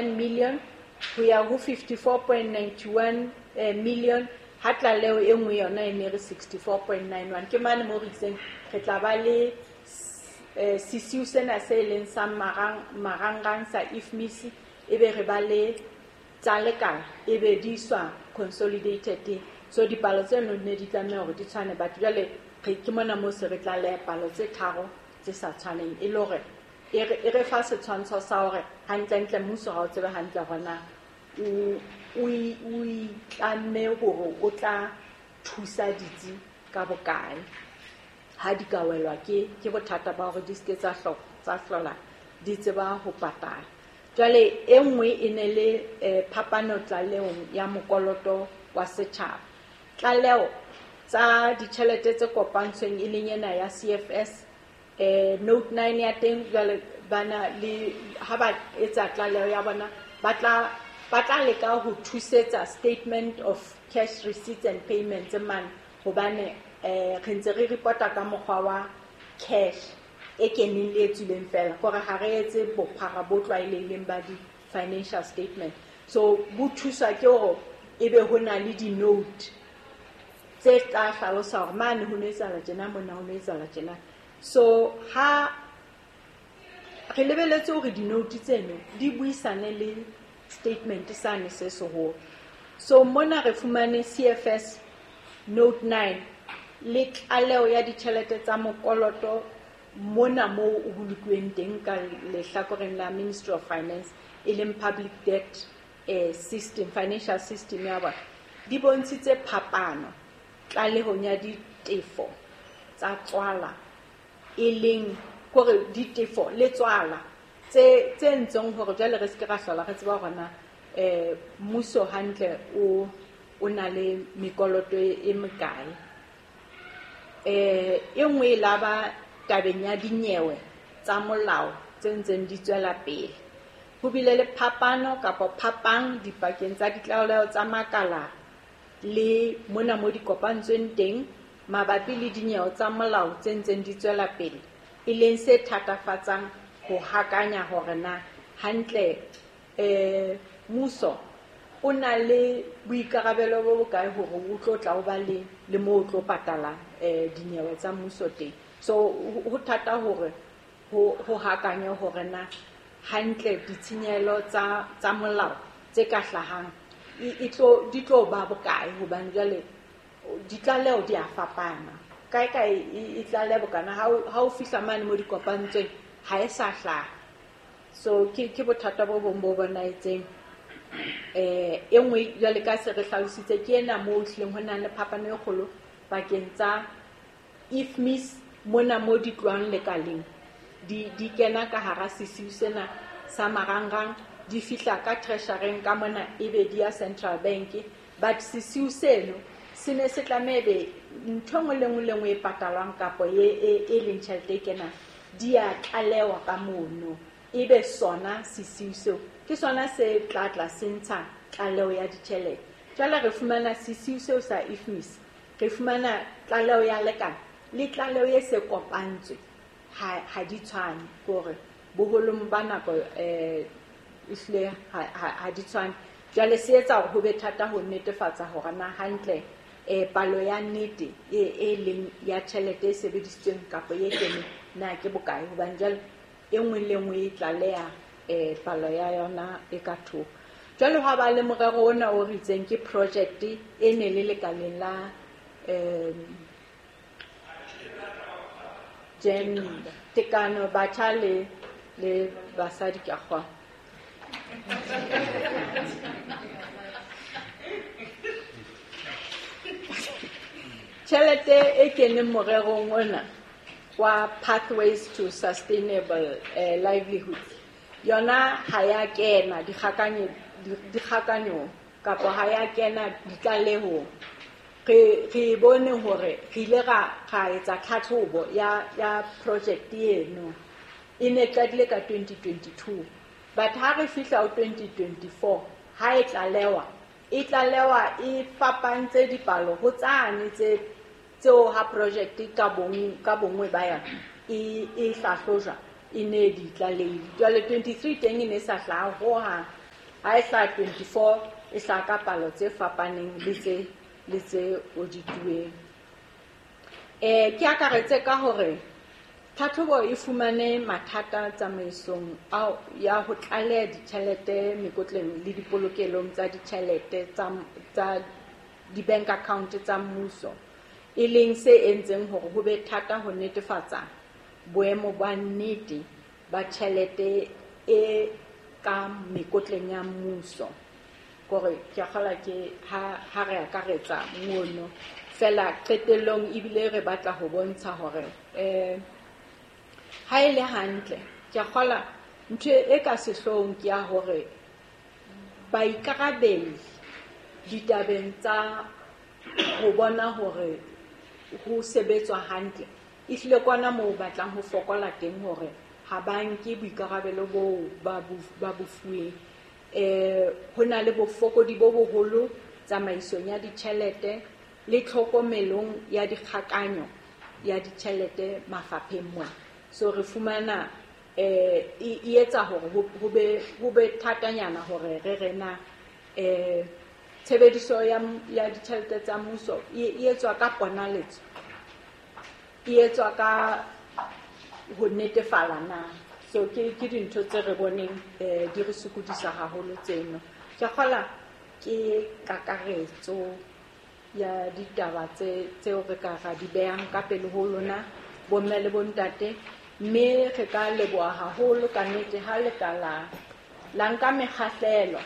Million ho ya ho 54.91 million, ha tlaleho e nngwe yona e ne re 64.91. Ke mane mo re itseng re tla ba le sesiu sena se leng sa marangrang sa IFMIS, ebe re ba le tsa lekala, ebe di iswa consolidated. So dipalo tseno ne di tlameha hore di tshwane, but jwale ke mona mo se re tlaleha palo tse tharo tse sa tshwaneng, e le hore e re fa setshwantsho sa hore hantlentle mmuso ha o tsebe hantle hore na o itlamme hore o tla thusa ditsi ka bokae ha di ka welwa ke bothata ba hore di seke tsa hlola di tseba ho patala. Jwale e nngwe e ne le phapano tlalehong ya mokoloto wa setjhaba. Tlaleho tsa ditjhelete tse kopantsweng e leng ena ya CFS, note 9 ya teng, jwale bana le ha ba etsa tlaleho ya bona ba tla leka ho thusetsa statement of cash receipts and payments mane, hobane re ntse re reporta ka mokgwa wa cash e keneng le e tswileng fela, kore ha re etse bophara bo tlwaelehileng ba di-financial statement. So bo thuswa ke hore ebe ho na le di-note tse tla hlalosa hore mane ho no etsahala tjena, mona ho no etsahala tjena. So ha re lebeletse hore di-note tseno di buisane le statement sane se seholo. So mona re fumane CFS note 9 le tlaleho ya ditjhelete tsa mokoloto mona moo o bolokuweng teng ka lehlakoreng la Ministry of Finance, e leng public debt system, financial system ya bona, di bontshitse phapano tlalehong ya ditefo tsa tswala, e leng hore ditefo le tswala tse ntseng hore jwale re seke ra hlola re tseba hore na mmuso hantle o na le mekoloto e mekae. E nngwe e laba tabeng ya dinyewe tsa molao tse ntseng di tswela pele. Ho bile le phapano kapa phapang dipakeng tsa ditlaleho tsa makala le mona mo di kopantsweng teng mabapi le dinyewe tsa molao tse ntseng di tswela pele, e leng se thatafatsang ho hakanya hore na hantle mmuso o na le boikarabelo bo bokae hore o tlo tla o ba le moo o tlo patala dinyewe tsa mmuso teng. So ho thata hore ho hakanye hore na hantle ditshenyehelo tsa molao tse ka hlahang di tlo ba bokae, hobane jwale ditlaleho di a fapana. Kae kae e tlaleha bokana, ha o fihla mane mo di kopantsweng ha e sa hlaha. So ke bothata bo bong bo bonahetseng. E nngwe jwale ka se re hlalositse ke ena moo ehlileng ho nang le phapano e kgolo pakeng tsa IFMIS mona mo di tlohang lekaleng, di kena ka hara sesiu sena sa marangrang, di fihla ka treasury ka mona ebe di ya Central Bank. But sesiu seno se ne se tlameha ebe ntho e nngwe le nngwe le nngwe e patalwang kapa e leng tjhelete e kenang di a tlalewa ka mono, ebe sona sesiu seo ke sona se tla tla se ntsha tlaleho ya ditjhelete. Jwale re fumana sesiu seo sa IFMIS, re fumana tlaleho ya lekala le tlaleho e se kopantswe ha di tshwane, hore boholong ba nako ehlile ha di tshwane. Jwale se etsa hore ho be thata ho netefatsa hore na hantle palo ya nnete e leng ya tjhelete e sebedisitsweng kapa e keneng na ke bokae, hobane jwale e nngwe le nngwe e tlaleha palo ya yona e ka thoko. Jwale ha ba le morero ona o re itseng ke project e ne le lekaleng la gender, tekano, batjha le basadi ka kgona. Tjhelete e keneng morerong ona wa Pathways to Sustainable Livelihoods yona ha ya kena dikgakanyong kapa ha ya kena ditlalehong. Re bone hore re ile ra etsa tlhatlhobo ya project eno, e ne qadile ka 2022, but ha re fihla ho 2024 ha e tlalewa e fapantse dipalo ho tsane tseo ha project ka bongwe ba yona e hlahlojwa e ne di tlalehile. Jwale 23 teng e ne sa hlaha hohang. Ha e hlaha 24 e hlaha ka palo tse fapaneng le tse le tse audituweng. Ke akaretse ka hore tlhatlhobo e fumane mathata tsamaisong ao ya ho tlaleha ditjhelete mekotleng le dipolokelong tsa ditjhelete tsa di-bank account tsa mmuso, e leng se entseng hore ho be thata ho netefatsa boemo ba nnete ba tjhelete e ka mekotleng ya mmuso. Kore ke a kgolwa ke ha re akaretsa mono fela qetellong ebile re batla ho bontsha hore ha e le hantle ke a kgolwa ntho e ka sehloohong ke ya hore baikarabelli ditabeng tsa ho bona hore ho sebetswa hantle ehlile kwana moo batlang ho fokola teng hore ha ba nke boikarabelo boo ba bo fuweng. Ho na le bofokodi bo boholo tsamaisong ya ditjhelete le tlhokomelong ya dikgakanyo ya ditjhelete mafapheng mona. So re fumana e etsa hore ho be thatanyana hore re rena tshebediso ya ditjhelete tsa mmuso e etswa ka ponaletso, e etswa ka ho netefala na. So ke dintho tse re boneng di re sokodisa haholo tseno. Ke kgola ke kakaretso ya ditaba tseo re ka ra di behang ka pele ho lona bomme le bontate, mme re ka leboha haholo ka nnete ha le ka la nka mekgahlelo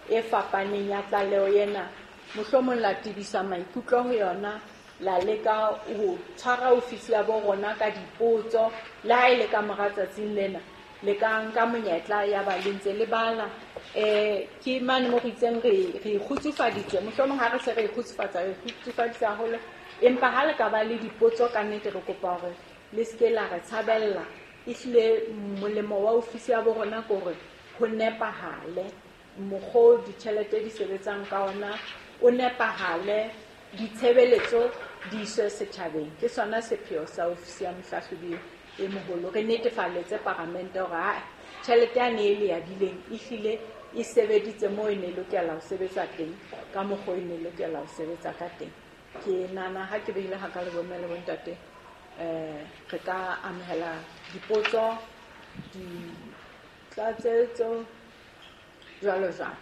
e fapaneng ya tlaleho ena, mohlomong la tebisa maikutlo ho yona, la leka ho tshwara ofisi ya bo rona ka dipotso, le ha e le ka mora tsatsing lena le ka nka monyetla ya ba le ntse le bala. Ke mane mo re itseng re ikgutsufaditse, mohlomong ha re se re ikgutsufatsa re ikgutsufaditse haholo, empa ha le ka ba le dipotso ka nnete re kopa hore le seke la re tshabella. Ehlile molemo wa ofisi ya bo rona ke hore ho nepahale mokgwa o ditjhelete di sebetsang ka ona, o nepahale, ditshebeletso di iswe setjhabeng. Ke sona sepheo sa ofisi ya mohlahlobi e moholo. Re netefalletse paramente hore ha tjhelete yane e le abileng ehlile e sebeditse moo e ne lokela ho sebetsa teng, ka mokgwa e ne lokela ho sebetsa ka teng. Ke nahana ha ke beile ha ka le bomme le bontate, re ka amohela dipotso, ditlatsetso jwalo jwalo.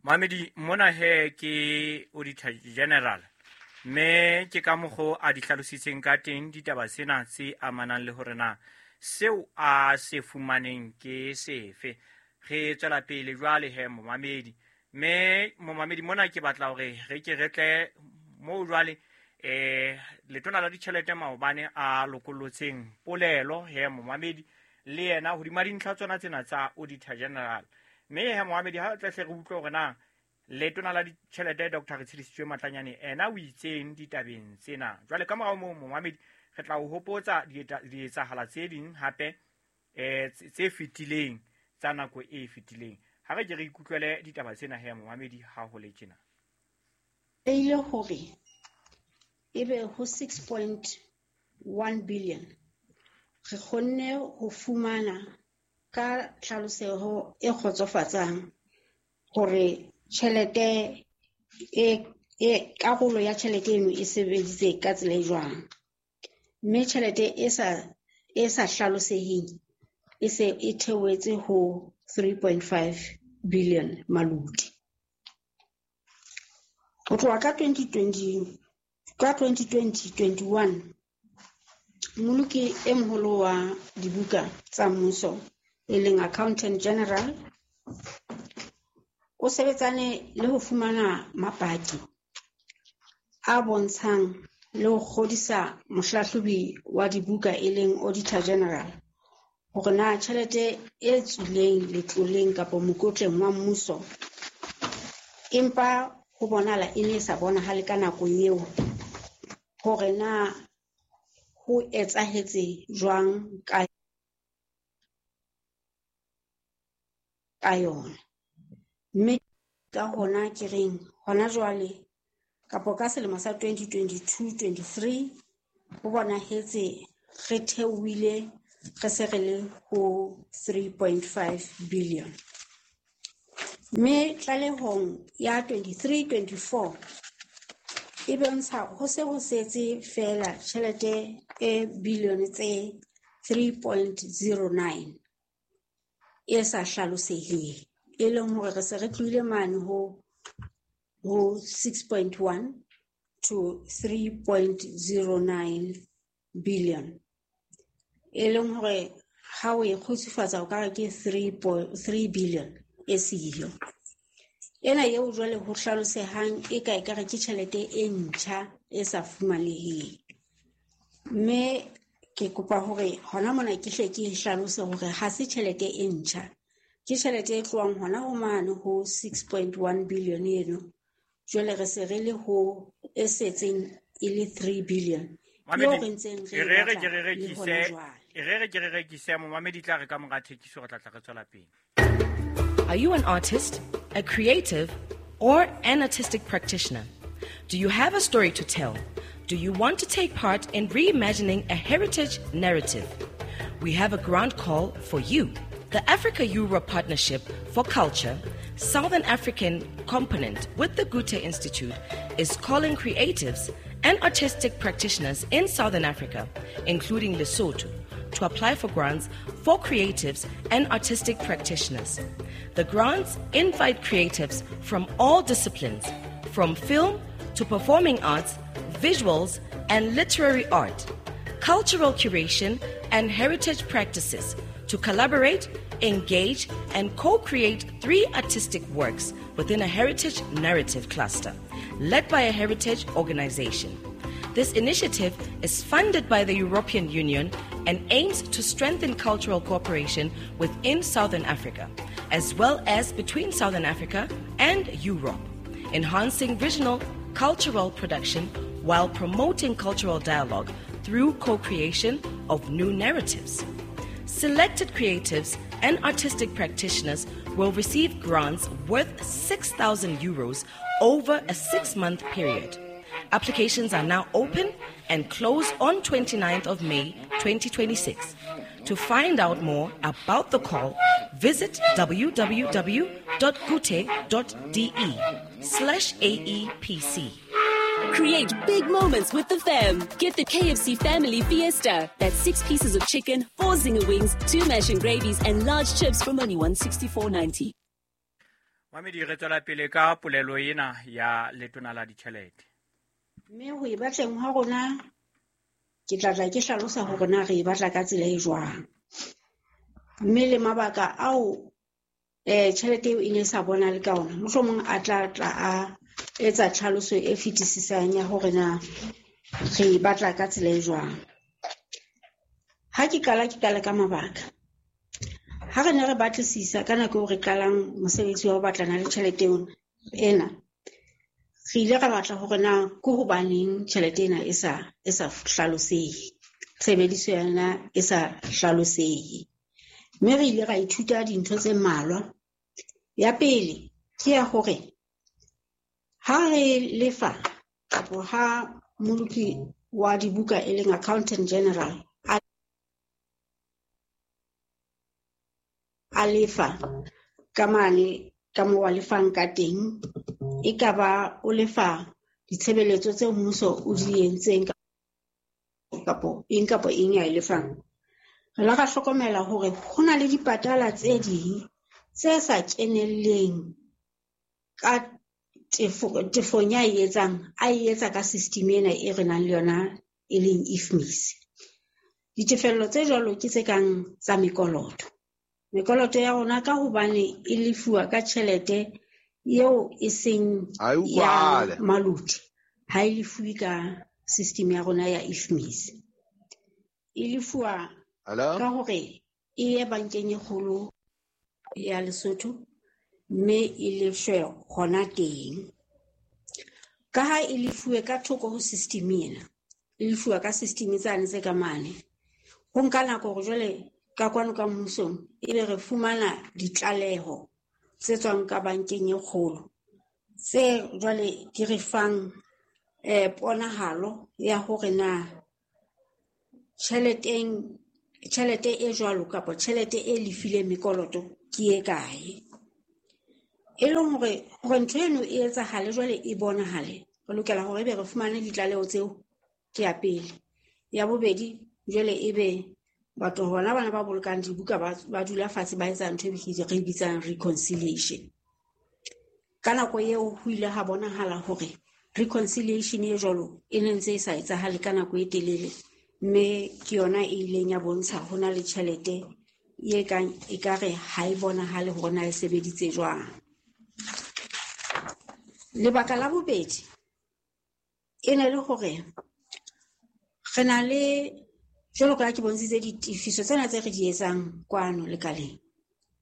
Mamedi, mona he ke Auditor General, mme ke ka mokgo a di hlalositseng ka teng ditaba tsena tse amanang le hore na seo a se fumaneng ke sefe. Re tswela pele jwale he momamedi, mme momamedi mona ke batla hore re ke re tle moo jwale letona la ditjhelete maobane a lokollotseng polelo he momamedi le yena hodima dintlha tsona tsena tsa Auditor General. Mme he momamedi ha tle hle re utlwe hore na letona la ditjhelete Dr. Retshidisitswe Matlanyane ena o itseng ditabeng tsena. Jwale ka morao moo momamedi re tla o hopotsa dietsahala tse ding hape tse fetileng tsa nako e fetileng. Ha re ke re ikutlwele ditaba tsena he momamedi ha ho le tjena. E ile hore ebe ho 6.1 billion re kgonne ho fumana ka tlhaloseho e kgotsofatsang hore tjhelete e karolo ya tjhelete eno e sebeditse ka tsela e jwang, mme tjhelete e sa hlaloseheng e se e theohetse ho 3.5 billion maluti. Ho tloha ka 2020 ka 2020-21 Mmoloki e moholo wa dibuka tsa mmuso e leng Accountant General o sebetsane le ho fumana mapaki a bontshang le ho kgodisa mohlahlobi wa dibuka e leng Auditor General hore na tjhelete e tswileng letloleng kapa mokotleng wa mmuso empa ho bonahala e ne e sa bonahale ka nako eo hore na ho etsahetse jwang ka yona. Mme ka hona ke reng hona jwale kapo ka selemo sa 2022-23 ho bonahetse re theohile re se re le ho 3.5 billion. Mme tlalehong ya 23-24 e bontsha ho se ho setse feela tjhelete e bilione tse 3.09 e sa hlaloseheng, e leng hore re se re tlohile mane ho 6.1 to 3.09 billion, e leng hore ha o e kgutsufatsa o ka re ke 3 billion e siyo. Ena eo jwale ho hlalosehang e ka ekare ke tjhelete e ntjha e sa fumaneheng. Mme ke kopa hore hona mona ke hle ke hlalose hore ha se tjhelete e ntjha, ke tjhelete e tlohang hona ho mane ho 6.1 billion eno. Jwale re se re le ho e setseng e le 3 billion. Eo re ntseng re batla le hona jwale. E re ke re rekise momamedi tla re ka mora thekiso re tla tla re tswela pele. Are you an artist, a creative, or an artistic practitioner? Do you have a story to tell? Do you want to take part in reimagining a heritage narrative? We have a grant call for you. The Africa-Europe Partnership for Culture, Southern African component with the Goethe Institute, is calling creatives and artistic practitioners in Southern Africa, including Lesotho, to apply for grants for creatives and artistic practitioners. The grants invite creatives from all disciplines, from film to performing arts, visuals and literary art, cultural curation and heritage practices to collaborate, engage and co-create 3 artistic works within a heritage narrative cluster led by a heritage organization. This initiative is funded by the European Union and aims to strengthen cultural cooperation within Southern Africa, as well as between Southern Africa and Europe, enhancing regional cultural production while promoting cultural dialogue through co-creation of new narratives. Selected creatives and artistic practitioners will receive grants worth 6,000 euros over a 6-month period. Applications are now open and close on 29th of May 2026. To find out more about the call, visit www.goethe.de/AEPC. Create big moments with the fam. Get the KFC Family Fiesta. That's 6 pieces of chicken, 4 zinger wings, 2 mash and gravies, and large chips from only $164.90. Mamedi re tswela pele ka polelo ena ya letona la ditjhelete. Mme ho e batleng ha rona ke tla tla ke hlalosa hore na re e batla ka tsela e jwang. Mme le mabaka ao tjhelete eo e ne sa bonale ka ona, mohlomong a tla tla a etsa tlhaloso e fetisisang ya hore na re e batla ka tsela e jwang. Ha ke qala ke qala ka mabaka. Ha re ne re batlisisa ka nako eo re qalang mosebetsi wa ho batlana le tjhelete ena, re ile ra batla hore na ke hobaneng tjhelete ena e sa hlalosehe, tshebediso ya yona e sa hlalosehe. Mme re ile ra ithuta dintho tse mmalwa. Ya pele ke ya hore ha re lefa kapo ha moloki wa dibuka e leng accountant general a lefa ka mane ka moo a lefang ka teng, e ka ba o lefa ditshebeletso tseo mmuso o di entseng kapo eng ya e lefang. Re la ra hlokomela hore ho na le dipatala tse ding tse sa kenelleng ka tefong ya e etsang, a e etsa ka system ena e re nang le yona e leng IFMIS. Ditefello tse jwalo ke tse kang tsa mekoloto. Mekoloto ya rona ka hobane e lefuwa ka tjhelete eo e seng ya maluti, ha e lefuwe ka system ya rona ya IFMIS. E lefuwa ka hore e ye bankeng e kgolo ya Lesotho mme e lefshwe hona teng. Ka ha e lefuwe ka thoko ho system ena, e lefuwa ka system tsane tse ka mane, ho nka nako hore jwale ka kwano ka mmusong ebe re fumana ditlaleho tse tswang ka bankeng e kgolo tse jwale di re fang ponahalo ya hore na tjhelete e jwalo kapa tjhelete e lefileng mekoloto ke e kae. E leng hore ntho eno e etsahale jwale e bonahale, re lokela hore ebe re fumane ditlaleho tseo, ke ya pele. Ya bobedi, jwale ebe batho hona bana ba bolokang dibuka ba dula fatshe ba etsa ntho e re bitsang reconciliation. Ka nako eo ho ile ha bonahala hore reconciliation e jwalo e ne ntse e sa etsahale ka nako e telele, mme ke yona e ileng ya bontsha ho na le tjhelete e kang ekare ha e bonahale hore na e sebeditse jwang. Lebaka la bobedi e ne le hore re na le, jwalo ka ha ke bontshitse, ditefiso tsena tse re di etsang kwano lekaleng,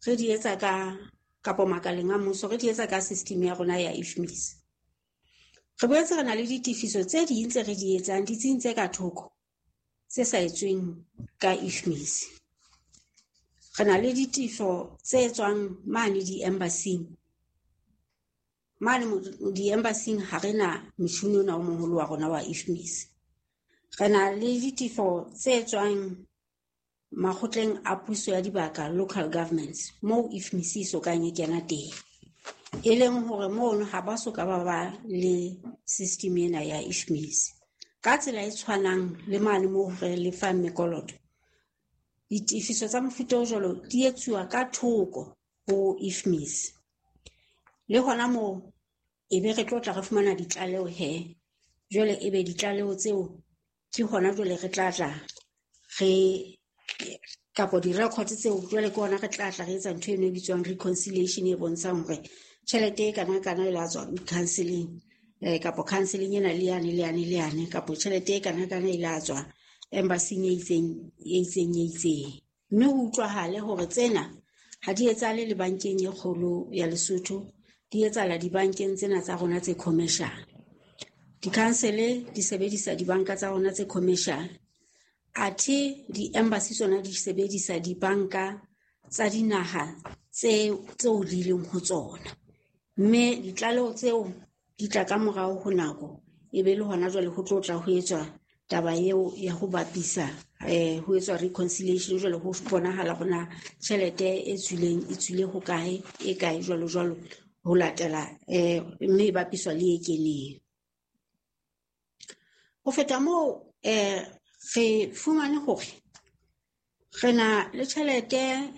re di etsa ka kapo makaleng a mmuso, re di etsa ka system ya rona ya IFMIS. Re boetse re na le ditefiso tse ding tse re di etsang ditsing tse ka thoko tse sa etsweng ka IFMIS. Re na le ditefo tse tswang mane di-embassy-ing. Mane di-embassy-ing ha re na motjhini ona o moholo wa rona wa IFMIS. Re na le ditefo tse tswang makgotleng a puso ya dibaka, local governments, moo IFMIS e sokang e kena teng. E leng hore mono ha ba soka ba ba le system ena ya IFMIS. Ka tsela e tshwanang le mane moo re lefang mekoloto, ditefiso tsa mofuta o jwalo di etsuwa ka thoko ho IFMIS. Le hona moo e be re tlo tla re fumana ditlaleho he. Jwale e be ditlaleho tseo ke hona jwale re tla tla re kapo di-record tseo jwale ke hona re tla tla re etsa ntho eno e bitswang reconciliation e bontshang hore tjhelete e kana kana e la tswa counseling, kapo counseling ena le yane le yane le yane, kapo tjhelete e kana kana e la tswa embassy-ing e itseng, e itseng, e itseng. Mme ho utlwahale hore tsena ha di etsahale le bankeng e kgolo ya Lesotho, di etsahala dibankeng tsena tsa rona tse commercial. Di-council di sebedisa dibanka tsa rona tse commercial, athe di-embassy tsona di sebedisa dibanka tsa dinaha tseo di leng ho tsona. Mme ditlaleho tseo di tla ka morao ho nako, e be le hona jwale ho tlo tla ho etswa taba eo ya ho bapisa, ho etswa reconciliation, jwale ho bonahala hore na tjhelete e tswileng e tswile ho kae, e kae jwalo jwalo ho latela, mme e bapiswa le e keneng. Ho feta moo, re fumane hore re na le tjhelete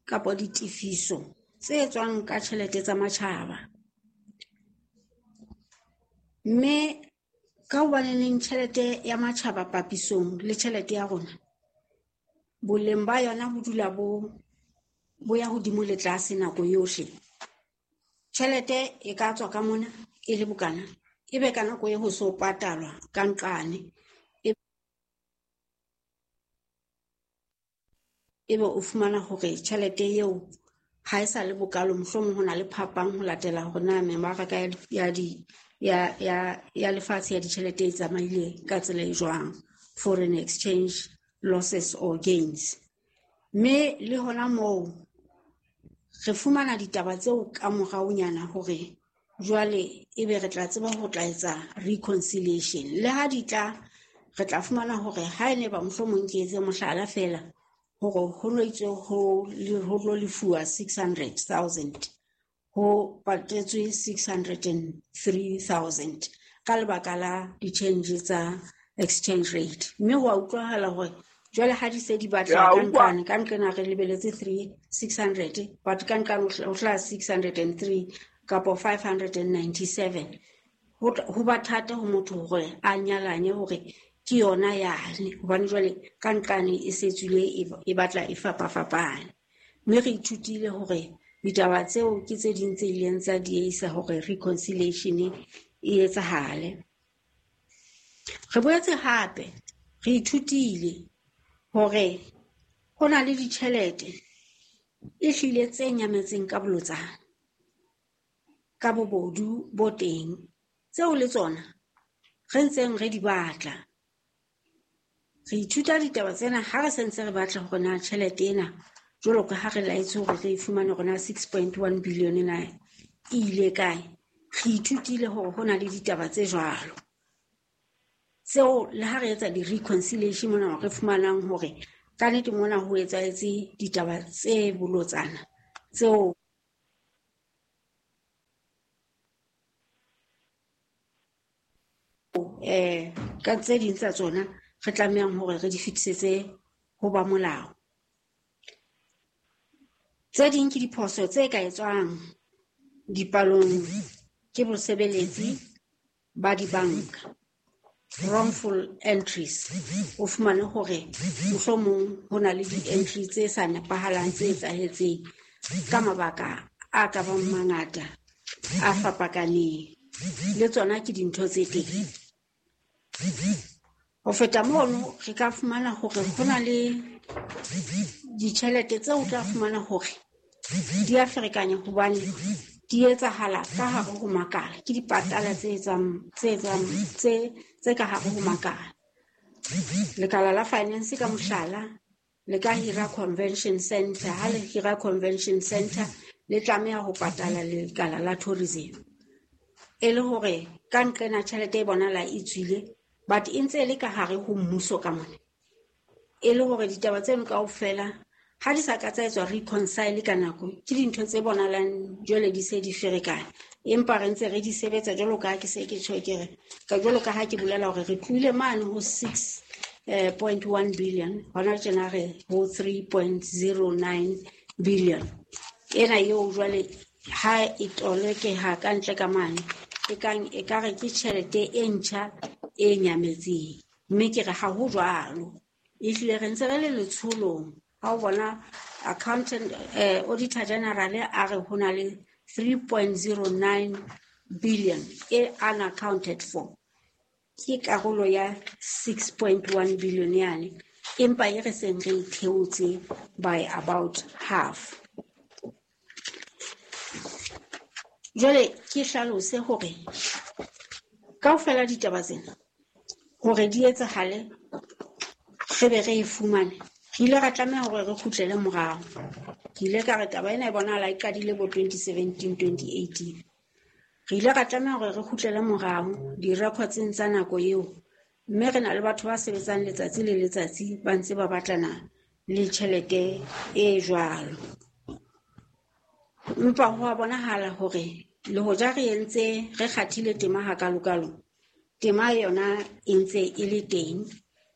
kapo ditefiso tse tswang ka tjhelete tsa matjhaba. Mme ka hobaneneng tjhelete ya matjhaba papisong le tjhelete ya rona, boleng ba yona bo dula bo ya hodimo le tlase nako yohle. Tjhelete e ka tswa ka mona e le bokana, e be ka nako e ho so patalwa ka nqane, ebe o fumana hore tjhelete eo ha e sa le bokalo, mohlomong ho na le phapang ho latela hore na mebaraka ya lefatshe ya ditjhelete e tsamaile ka tsela e jwang, foreign exchange losses or gains. Mme le hona moo re fumana ditaba tseo ka moraonyana hore jwale ebe re tla tseba ho tla etsa reconciliation. Le ha di tla, re tla fumana hore ha e ne ba mohlomong ke etse mohlala feela hore ho no itswe ho tlo lefuwa 600,000, ho patetswe 603,000 ka lebaka la di-change tsa exchange rate. Mme ho a utlwahala hore jwale ha di se di batla ka nqane, ka nqena re lebeletse three six hundred, but ka nqane ho hlaha 603 kapo 597. Ho ba thata ho motho hore a nyalanye hore ke yona yane, hobane jwale ka nqane e se tswile e batla e fapafapane. Mme re ithutile hore ditaba tseo ke tse ding tse ileng tsa dieisa hore reconciliation e etsahale. Re boetse hape re ithutile hore ho na le ditjhelete e hlile tse nyametseng ka bolotsana, ka bobodu bo teng, tseo le tsona re ntseng re di batla. Re ithuta ditaba tsena ha re sentse re batla hore na tjhelete ena, jwalo ka ha re laetswe hore re e fumane hore na 6.1 billion ena e ile kae. Re ithutile hore ho na le ditaba tse jwalo tseo le ha re etsa di-reconciliation mona re fumanang hore ka nnete mona ho etsahetse ditaba tse bolotsana tseo ka tse ding tsa tsona re tlamehang hore re di fetisetse ho ba molao. Tse ding ke diphoso tse ka etswang dipalong ke bosebeletsi ba dibanka, wrongful entries. O fumane hore mohlomong ho na le di-entry tse sa nepahalang tse etsahetseng ka mabaka a ka bang mangata a fapakaneng, le tsona ke dintho tse teng. Ho feta mono, re ka fumana hore ho na le ditjhelete tseo o tla fumana hore di a ferekanya hobane di etsahala ka hare ho makala, ke dipatala tse etsang tse ka hare ho makala. Lekala la finance ka mohlala le ka hira convention center, ha le hira convention center le tlameha ho patala lekala la tourism, e le hore ka nqena tjhelete e bonahala e tswile, but e ntse e le ka hare ho mmuso ka mona. E le hore ditaba tseno kaofela ha di sa ka tsa etswa reconcile ka nako, ke dintho tse bonahalang jwale di se di ferekane, empa re ntse re di sebetsa jwalo ka ha ke se ke tjho ke re, ka jwalo ka ha ke bolela hore re tlohile mane ho 6.1 billion, hona tjena re ho 3.09 billion. Ena eo jwale ha e tolokeha ka ntle ka mane, e kang e ka re ke tjhelete e ntjha e nyametseng, mme ke re ha ho jwalo. Ehlile re ntse re le letsholong. Ha o bona accountant, auditor general a re ho na le 3.09 billion e unaccounted for, ke karolo ya 6.1 billion yane, empa e re seng re theotse by about half. Jwale ke hlalose hore kaofela ditaba tsena hore di etsahale re be re e fumane, re ile ra tlameha hore re kgutlele morao. Ke ile ka re taba ena e bonahala e qadile bo 2017, 2018. Re ile ra tlameha hore re kgutlele morao di-recordseng tsa nako eo, mme re na le batho ba sebetsang letsatsi le letsatsi ba ntse ba batlana le tjhelete e jwalo. Empa ho a bonahala hore le hoja re entse re kgathile tema hakalokalo, tema yona e ntse e le teng,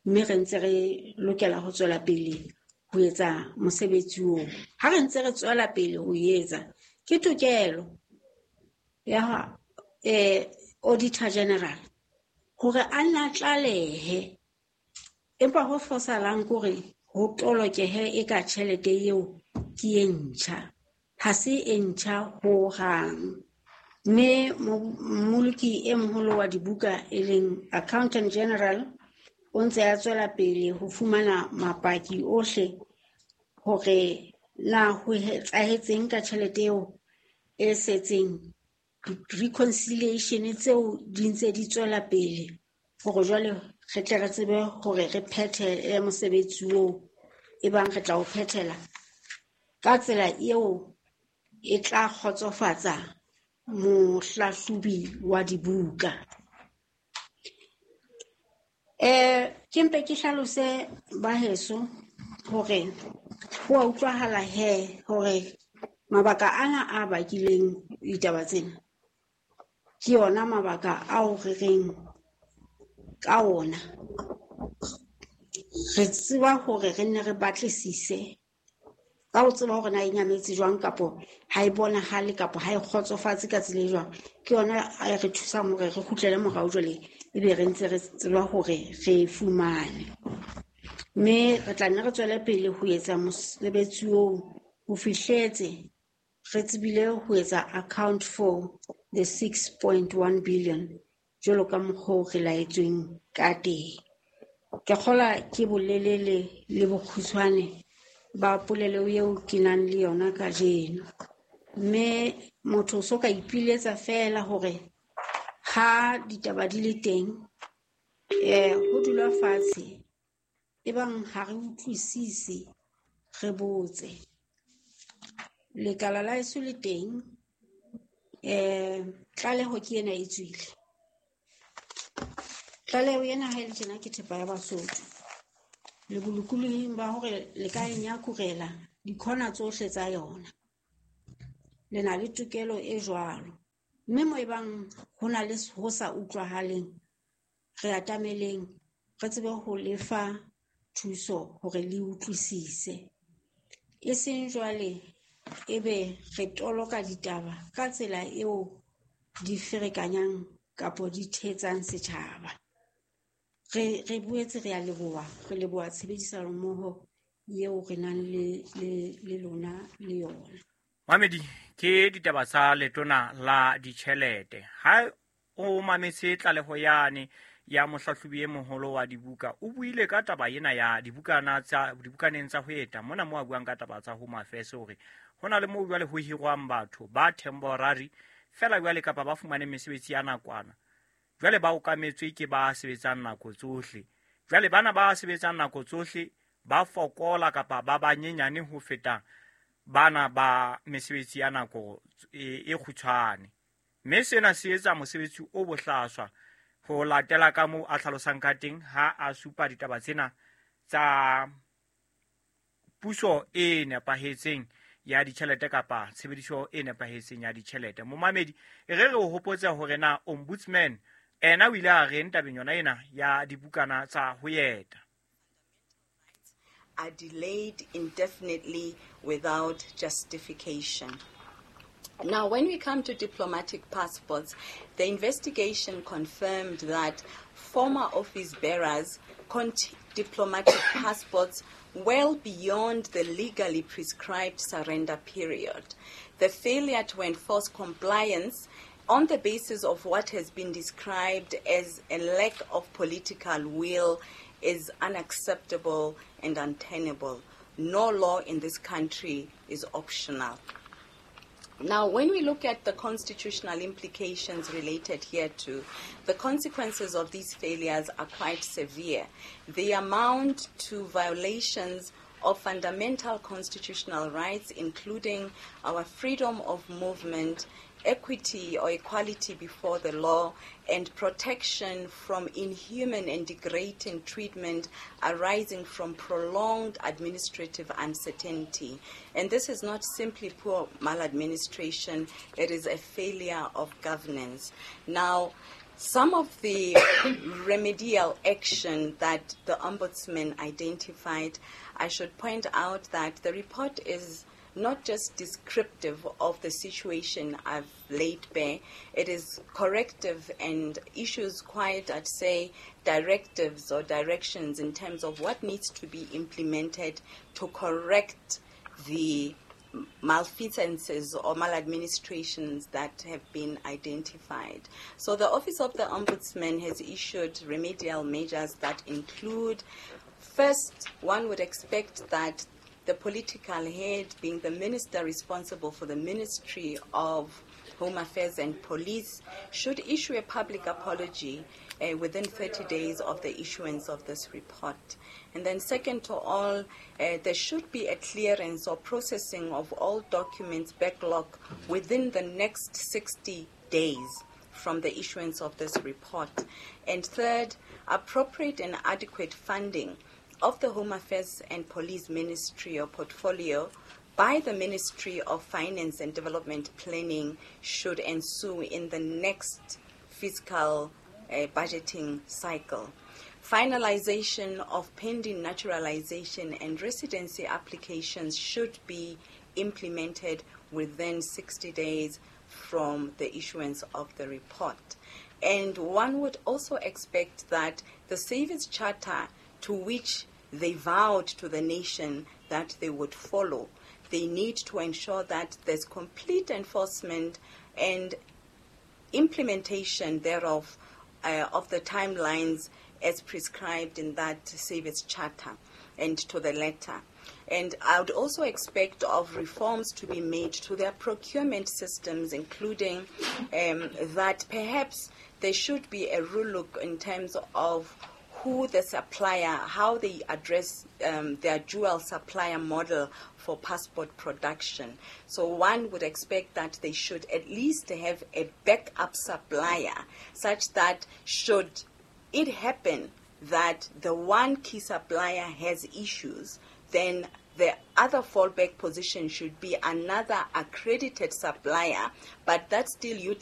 mme re ntse re lokela ho tswela pele ho etsa mosebetsi oo. Ha re ntse re tswela pele ho etsa, ke tokelo ya Auditor General hore a nna tlalehe, empa ho fosahalang ke hore ho tolokehe e ka tjhelete eo ke e ntjha. Ha se e ntjha hohang. Mme mmoloki e moholo wa dibuka e leng Accountant General o ntse a tswela pele ho fumana mapaki ohle hore na ho etsahetseng ka tjhelete eo e setseng. Reconciliation tseo di ntse di tswela pele hore jwale re tle re tsebe hore re phethele mosebetsi oo, ebang re tla o phethela ka tsela eo e tla kgotsofatsa mohlahlobi wa dibuka. Ke mpe ke hlalose ba heso hore ho a utlwahala he hore mabaka ana a bakileng ditaba tsena ke yona mabaka ao re reng ka ona. Re tseba hore re nne re batlisise ka ho tseba hore na e nyametse jwang kapo ha e bonahale kapo ha e kgotsofatse ka tsela e jwang. Ke yona e re thusang hore re kgutlele morao jwale, ebe re ntse re tseba hore re e fumane. Mme re tla nne re tswele pele ho etsa mosebetsi oo ho fihletse re tsebile ho etsa account for the 6.1 billion jwalo ka mokgwa oo re laetsweng ka teng. Ke kgolwa ke bolelele le bokgutshwane ba polelo eo ke nang le yona kajeno. Mme motho o so ka ipiletsa feela hore ha ditaba di le teng, ho dulwa fatshe, ebang ha re utlwisise, re botse. Lekala la heso le teng, tlaleho ke ena e tswile. Tlaleho ena ha e le tjena ke thepa ya Basotho. Le bolokolohing ba hore le ka e nyakurela dikhona tsohle tsa yona. Le na le tokelo e jwalo. Mme mo ebang ho na le ho sa utlwahaleng, Re atameleng re tsebe ho lefa thuso hore le utlwisise. E seng jwale ebe re toloka ditaba ka tsela eo di ferekanyang kapo di thetsang setjhaba. Re boetse re a leboha, re leboha tshebedisano mmoho eo re nang le lona le yona. Mamedi, ke ditaba tsa letona la ditjhelete. Ha o mametse tlaleho yane ya mohlahlobi e moholo wa dibuka, o buile ka taba ena ya dibukana tsa dibukaneng tsa ho eta. Mona mo a buang ka taba tsa Home Affairs hore ho na le moo jwale ho hirwang batho ba temporary fela jwale kapa ba fumane mesebetsi ya nakwana. Jwale ba okametswe ke ba sebetsang nako tsohle. Jwale bana ba sebetsang nako tsohle ba fokola kapa ba banyenyane ho feta bana ba mesebetsi ya nako e kgutshwane. Mme sena se etsa mosebetsi o bohlaswa ho latela ka moo a hlalosang ka teng ha a supa ditaba tsena tsa puso e nepahetseng ya ditjhelete kapa tshebediso e nepahetseng ya ditjhelete. Momamedi, e re o hopotse hore na ombudsman ena o ile a reng tabeng yona ena ya dibukana tsa ho eta. Are delayed indefinitely without justification. Now, when we come to diplomatic passports, the investigation confirmed that former office bearers diplomatic passports well beyond the legally prescribed surrender period. The failure to enforce compliance on the basis of what has been described as a lack of political will is unacceptable and untenable. No law in this country is optional. Now, when we look at the constitutional implications related hereto, the consequences of these failures are quite severe. They amount to violations of fundamental constitutional rights, including our freedom of movement, equity or equality before the law, and protection from inhuman and degrading treatment arising from prolonged administrative uncertainty. And this is not simply poor maladministration, it is a failure of governance. Now, some of the remedial action that the Ombudsman identified, I should point out that the report is not just descriptive of the situation I've laid bare, it is corrective and issues quite, I'd say, directives or directions in terms of what needs to be implemented to correct the malfeasances or maladministrations that have been identified. So the Office of the Ombudsman has issued remedial measures that include, first, one would expect that the political head, being the minister responsible for the Ministry of Home Affairs and Police, should issue a public apology within 30 days of the issuance of this report. And then second to all, there should be a clearance or processing of all documents backlog within the next 60 days from the issuance of this report. And third, appropriate and adequate funding of the Home Affairs and Police Ministry or portfolio by the Ministry of Finance and Development Planning should ensue in the next fiscal budgeting cycle. Finalization of pending naturalization and residency applications should be implemented within 60 days from the issuance of the report. And one would also expect that the Service Charter, to which they vowed to the nation that they would follow, they need to ensure that there's complete enforcement and implementation thereof of the timelines as prescribed in that Service Charter and to the letter. And I would also expect of reforms to be made to their procurement systems, including that perhaps there should be a relook in terms of who the supplier, how they address their dual supplier model for passport production. So one would expect that they should at least have a backup supplier, such that should it happen that the one key supplier has issues, then the other fallback position should be another accredited supplier, but that still utilizes